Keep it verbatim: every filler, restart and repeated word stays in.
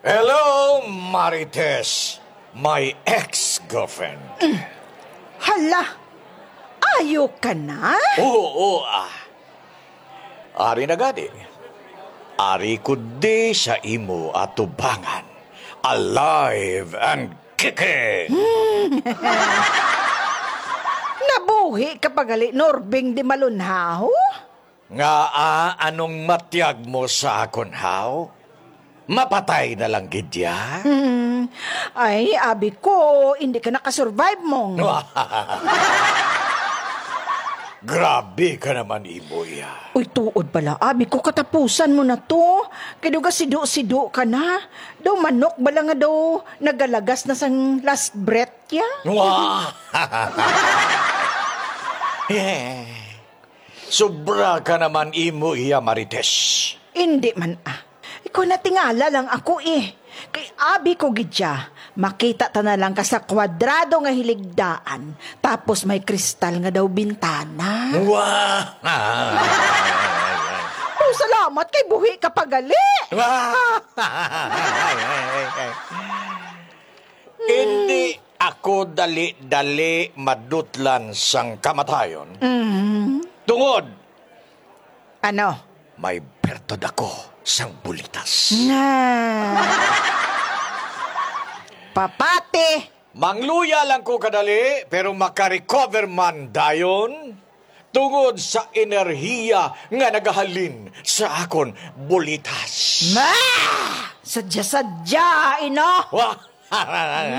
Hello, Marites, my ex-girlfriend. Hala, ayo ka na? Oo, ah. Ari na gani. Ari ko di sa imo atubangan. Alive and kicking! Nabuhi ka pa gali, Norbing di malunhaw? Ngaa, anong matyag mo sa akon, haw? Mapatay na lang gid ya? Hmm. Ay, abi ko, hindi ka nakasurvive, mong. Grabe ka naman, imo ya. Uy, tuod bala, abi ko, katapusan mo na to. Kay daw gasido-sido ka na. Daw manok bala nga daw nagalagas na sang last breath ya? Wah! Sobra ka naman, imo iya, Marites. Hindi man, ah. Ikaw, natingala lang ako, eh. Kay abi ko gid siya, makita ta na lang ka sa kwadrado nga hiligdaan, tapos may kristal nga daw bintana. Wah! Oh, salamat kay buhi ka pa gali. Wah! Hindi ako dali-dali madutlan sang kamatayon. Mm. Tungod, ano? May bertod ako sang bulitas. Nga. Papati. Mangluya lang ko kadali, pero makarecover man dayon tungod sa enerhiya nga nagahalin sa akon bulitas. Ma! Sadya-sadya, ino? Wah!